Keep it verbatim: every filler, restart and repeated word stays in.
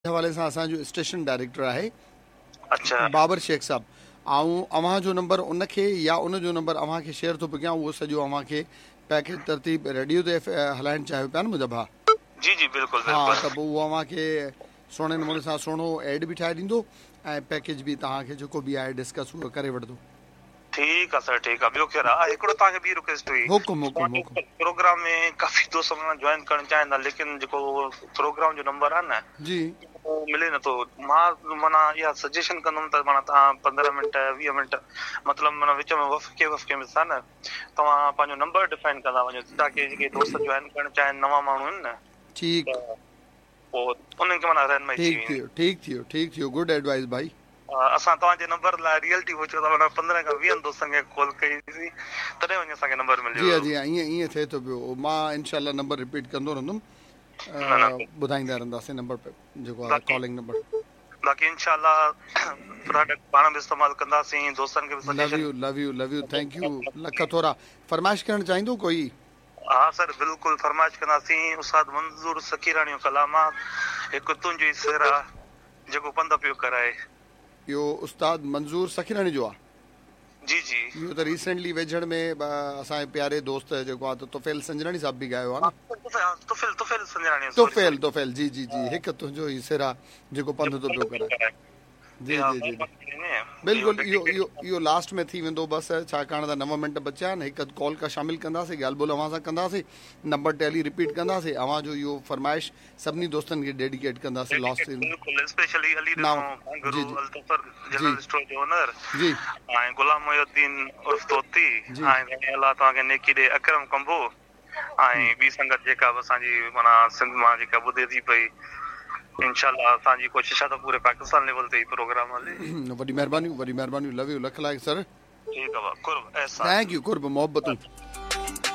حوالي سان اسان جو اسٽيشن ڊائريڪٽر آهي اڇا بابر شيخ صاحب، آئون اوهان جو نمبر ان کي يا ان جو نمبر اوهان کي شيئر ٿو پيو ڪيان، اهو سڄو اوهان کي پيڪيج ترتيب ريڊيو تي هلائڻ چاهيو پيا نه منهنجا ڀاء. جي جي بلڪل ها بلڪل. ته پوء اهو اوهان کي سهڻي نموني سان سهڻو ايڊ به ٺاهي ڏيندو ۽ پيڪيج به توهان کي جيڪو به آهي ڊسڪس اهو ڪري وٺندو. ٺيڪ آ سر ٺيڪ آ ٻيو خير آ هڪڙو توهان کي ٻي رڪويسٽ هئي حڪم حڪم حڪم. پروگرام ۾ ڪافي دوست معنيٰ جوائن ڪرڻ چاهين ٿا ليڪن جيڪو پروگرام جو نمبر آ نه جي اهو ملي نٿو مان معنيٰ اها سجيشن ڪندم ته معنيٰ توهان پندرهن منٽ ويهه منٽ مطلب معنيٰ وچ ۾ وقفي وقفي ۾ سان نه توهان پنهنجو نمبر ڊفائن ڪندا وڃو تاڪي جيڪي دوست جوائن ڪرڻ چاهين نوان ماڻهو آهن نه ٺيڪ ته پوء انهن کي معنيٰ رهنمائي ٿي ٺيڪ ٿي ويندي. ويو ٺيڪ ٿي ويو ٺيڪ ٿي ويو گڊ ايڊوائس ڀائي. اسان توهان جي نمبر لاء ريئلٽي پڇيو ته معنيٰ پندرهن کان ويهن دوستن کي ڪال ڪئي سين تڏهن وڃي اسان کي نمبر مليو جي ها هيو. جي ها ائين ائين ٿئي ٿو پيو مان انشاء الله نمبر رپيٽ ڪندو رهندم نه نه ٻڌائيندا رهنداسين نمبر جيڪو آهي باقي ڪالنگ نمبر. باقي انشاء الله پراڊڪٽ پاڻ به استعمال ڪنداسين دوستن کي به لو suggestion you love you love you thank you lakh ٿورا فرمائش ڪرڻ چاهيندو ڪوئي. ها سر بلڪل فرمائش ڪنداسين استاد منظور سخيراڻي جو ڪلام آ هڪ تنهنجو ئي سر آ جيڪو پنڌ پيو ڪرائي. اهو استاد منظور سخيراڻي جو آ. جي جي. اهو ته ريسينٽلي ويجهڙ ۾ اسان جي پياري دوست جيڪو آ ته طفيل سنجراڻي صاحب به ڳايو آ نه. طفيل طفيل سنجراڻي سوري طفيل سوري. طفيل جي جي جي هڪ تنهنجو ئي سر آ جيڪو پنڌ جيڪو ٿو پنڌ پيو پيو ڪرائي. ڪرائي. جي اها جي جي جي مهرباني ٿي وڃي اهو بلڪل اهو ڊيڊيڪيٽ اهو اهو لاسٽ ۾ ٿي ويندو بس ڇاڪاڻ ته نو منٽ بچيا آهن هڪ اڌ ڪال ڪا شامل ڪنداسين ڳالهه ٻولهه اوهان سان ڪنداسين نمبر ٽيلي رپيٽ ڪنداسين اوهان جو اهو فرمائش سڀني دوستن کي ڊيڊيڪيٽ ڪنداسين لاسٽ ڊيڊيڪيٽ بلڪل اسپيشلي علي نو ڏنو جي گهانگهرو جي الظفر جي جنرل اسٽور جو اونر جي ۽ غلام محي الدين عرف طوطي جي ۽ سائين الله توهان کي نيڪي ڏي اڪرم ڪمبو ۽ ٻي سنگت جيڪا به اسان جي معنيٰ سنڌ مان جيڪا ٻڌي ٿي پئي انشاء الله اسان جي ڪوشش آهي ته پوري پاڪستان ليول تي هي پروگرام هلي. وڏي مهربانيون وڏي مهربانيون لو يو لک لائق سر. ٺيڪ آ قرب احسان. Thank you قرب محبتون.